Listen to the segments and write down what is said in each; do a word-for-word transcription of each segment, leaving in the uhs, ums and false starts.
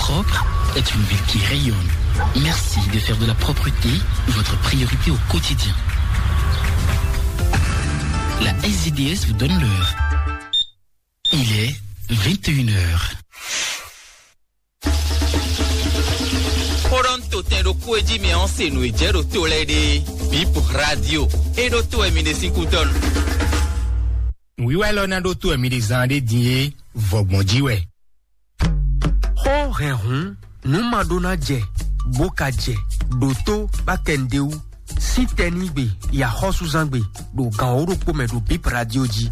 Propre est une ville qui rayonne. Merci de faire de la propreté votre priorité au quotidien. La S D D S vous donne l'heure. Il est vingt et une heures. Xó ɖɔ nú totɛn ɖokpó e jí mɛ ɔ́ se nǔ e jɛ ɖo to lɛ́ɛ ɖe. Bip radio. E ɖó to wɛ mi ɖe sín kútɔ́ nu. Nǔwiwa élɔ́ ná ɖótó wɛ mi ɖe zán ɖé din é, vɔgbɔn jí wɛ. Xó hɛn hǔn, nǔ ma ɖó ná jɛ, bó ka jɛ, ɖǒtó bá kɛ nǔɖé wú, sín tɛnígbe, yi axɔ́súzángbe, ɖo gǎn wǒ ɖokpó mɛ ɖo Bip Radio jí.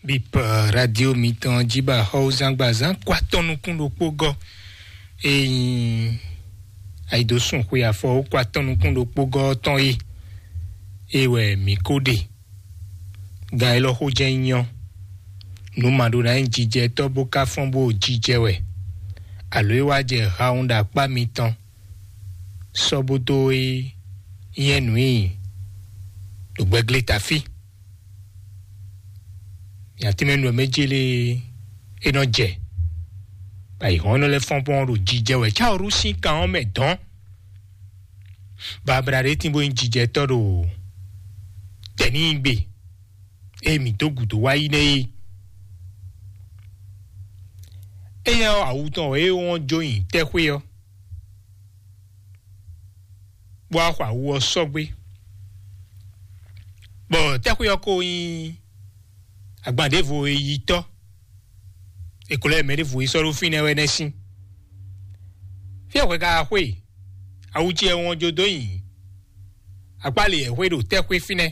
Bip Radio mitɔn jí ba xɔ́wúzángbazán kó atɔ́ nukún ɖokpó gɔ́. Ényí ayidosúnxwe afɔ ó kó atɔ́ nukún ɖokpó gɔ́ ɔ́ tɔn é, é wɛ mǐ ko ɖe. Gan élɔ́ xó jɛ́n nyí ɔ́, nǔ ma ɖó ná nyí jijɛtɔ́ bó ka fɔ́n bó jijɛ wɛ, alo é wá jɛ hawun ɖo akpá mitɔn, sɔ́ bó dó é nyɛ́ nǔ nyi ɖo gbɛglé tafí. Nya tɛ́nmɛ nú ɔ́ mɛ jélé é nɔ jɛ, bɔ ayǐhɔ́n nɔ lɛ́ fɔ́n bɔ́ ɖo jijɛ wɛ cáwǔɖu sín kan ɔ́ mɛ dɔ̌n. Babla ɖé tín bó nyí jijɛtɔ́ ɖo tɛ̌nígbe e mǐ dó gǔdo wá yi nɛ́ é. Éyɛ́ ɔ́, awu tɔn wɛ é wɔn jó nyi tɛ́xwé ɔ́, bó wá xɔ awu ɔ́ sɔ́gbé, bɔ tɛ́xwé ɔ́ ko nyí agban ɖěvo e yi tɔ́. È ko lɛ́ mɛ ɖěvo yi sɔ́ ɖó fínɛ́ wɛ nɛ́ sín. Fí e hwɛ ka xwe awu ce wɔn jó dó nyi akpá lě e xwe ɖo tɛ́xwé fínɛ́,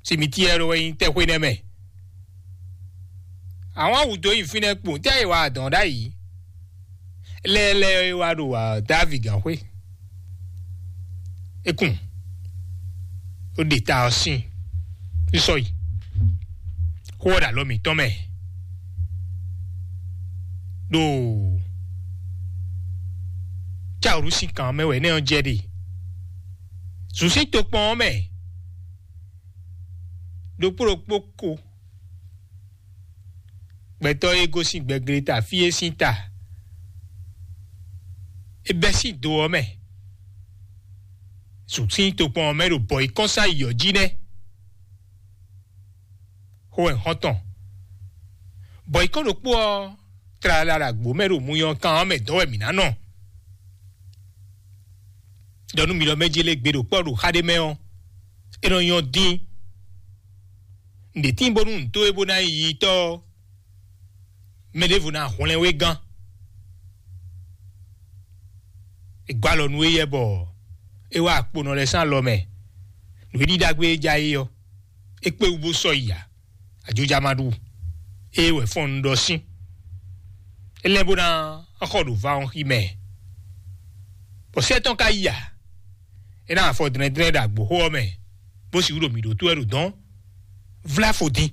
simitiɛ́ ɖo wɛ nyí tɛ́xwé nɛ́ mɛ. Àwọn awu dó nyi fínɛ́ kpowun tɛ́ e wa adɔ̌n ɖ'ayǐ lɛ́ɛ lɛ́ɛ e wa ɖo Davi gǎn xwé. É kun, ó ɖe ta ɔ́ sín, sísɔ yi, xó ɔ́ ɖo alɔ mǐtɔn mɛ. Ɖo cáwǔɖu sín kan mɛ wɛ nɛ́ ɔ́ jɛ ɖe. Zǔn sín tokpɔn ɔ́ mɛ, ɖokpó ɖokpó ko gbɛtɔ́ e gosín gbɛgleta fí é sín ta, é bɛ́ sín do ɔ́ mɛ. Zǔn sín tokpɔn ɔ́ mɛ ɖo bɔ yi kɔ́nsá yi ɔ́ jí nɛ́. Xó wɛ xɔ́ntɔn. Bɔ yi kɔ́n ɖokpó ɔ́, tlala ɖo agbo mɛ ɖo muyɔnkan ɔ́ mɛ dɔ́ wɛ mǐ ná nɔ. Ɖɔ nú mi ɖɔ mɛ jélé gbe ɖo kpɔ́ ɖo xa ɖé mɛ ɔ́, é nɔ nyɔ́ dín. Nǔɖé tín bónú nǔ towe bó ná nyí yiyi tɔ́ ɔ́, mɛ ɖěvo ná hwlɛ́n we gán. È gɔ́ alɔ nú éyɛ́ bɔ é wá akponɔ lɛ́ɛ sín alɔ mɛ. Nǔ e ɖi ɖagbe e ja é ɔ́, é kpé wú bó sɔ́ yi ǎ. Ajoja ma ɖu. Ée wɛ fɔ́n un ɖɔ sín. É lɛ́ bó ná xɔ ɖo va ɔ́ xi mɛ. Bɔ sɛ́ tɔn ka yi ǎ. É ná afɔ dlɛ́ndlɛ́n ɖo agboxó ɔ́ mɛ, bó sixú ɖo mǐ ɖótó wɛ ɖo dɔ̌n. Vlá fo dín.